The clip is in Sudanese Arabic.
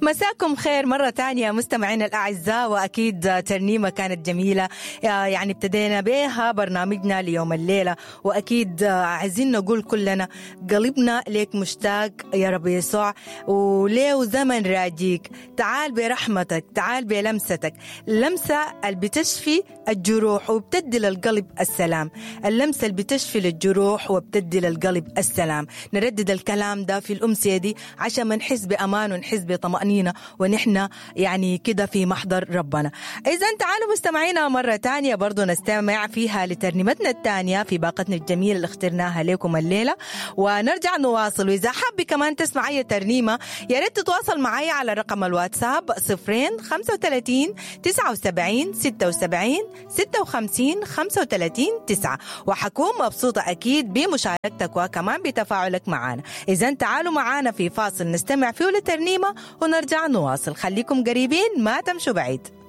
مساكم خير مرة تانية مستمعينا الأعزاء، وأكيد ترنيمة كانت جميلة، يعني ابتدينا بها برنامجنا ليوم الليلة. وأكيد عايزين نقول كلنا قلبنا ليك مشتاق يا رب يسوع، وليه زمن راجيك. تعال برحمتك، تعال بلمستك، لمسة اللي بتشفي الجروح وبتدي للقلب السلام، اللمسة اللي بتشفي للجروح وبتدي للقلب السلام. نردد الكلام ده في الأمسية دي عشان ما نحس بأمان ونحس بطمأنينة ونحن يعني كده في محضر ربنا. إذا تعالوا مستمعينا مرة تانية برضو نستمع فيها لترنيمتنا التانية في باقتنا الجميلة اللي اخترناها لكم الليلة، ونرجع نواصل. وإذا حابة كمان تسمع أي ترنيمة يا ريت تتواصل معي على رقم الواتساب 0 35 79 76 56 35 9، وحكون مبسوطة أكيد بمشاركتك وكمان بتفاعلك معنا. إذا تعالوا معنا في فاصل نستمع فيه لترنيمة ونرجع نواصل. خليكم قريبين ما تمشوا بعيد.